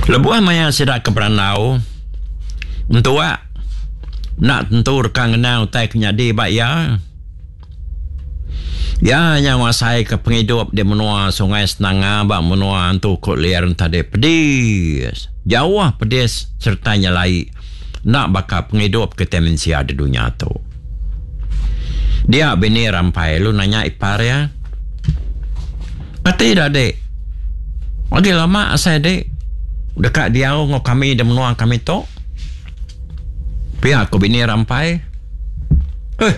Lebuh maya sida ke berandau, entua enda tentu deka ngenang utai ke nyadi ba iya. Iya nya ngasaika pengidup di menua Sungai Senanga ba menua Antu Kut Liar tadi pedis, jauh pedis sereta nyelai enda baka pengidup kitai mensia di dunya tu. Dia bini Rampai lalu nanya ipar iya, Kati ida dik? Agi lama asai dik deka diau enggau kami di menua kami tu? Pia ku bini Rampai. Eh.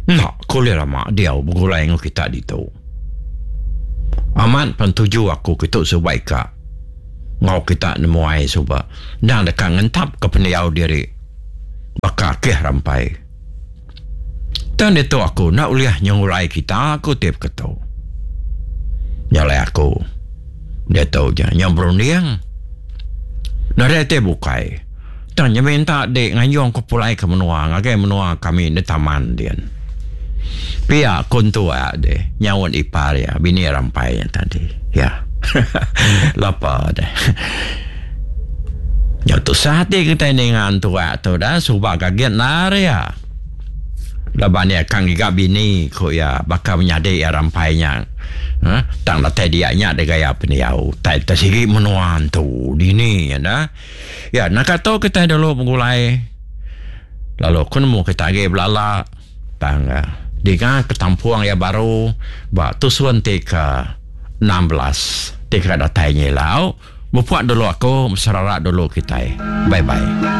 Enda ku ulih lama diau begulai enggau kita ditu. Amat pen tuju aku kitu suba ika enggau kita nemuai suba endang deka ngentapka pendiau diri baka akih rampai. Tang ditu aku enda ulih nyengulai kita ku ti beketu. Nya alai aku diatu nya nyau berunding nadai ti bukai. Tang nya minta dik nganjung ku pulai ke menua ngagai menua kami di taman din. Pia ku entua deh nyaut ipar iya bini rampai nya tadi. Ya. Lapa deh. Nyau tusah ati kitai ninga entua tu dah suba gagit endar iya. Laban iya ka ngiga bini ku iya baka menyadi iya rampai nya. Huh tang datai dia nya deh gaya pendiau tai te sigi menua entu dini nya dah. Ya naka tu kitai dulu begulai lalu aku nemu kitai agi belala tang dinga ke tampung iya baru ba tusun ti ke 16 ti ka datai nyilau. Mupuk dulu aku meserarak dulu kitai. Bye bye.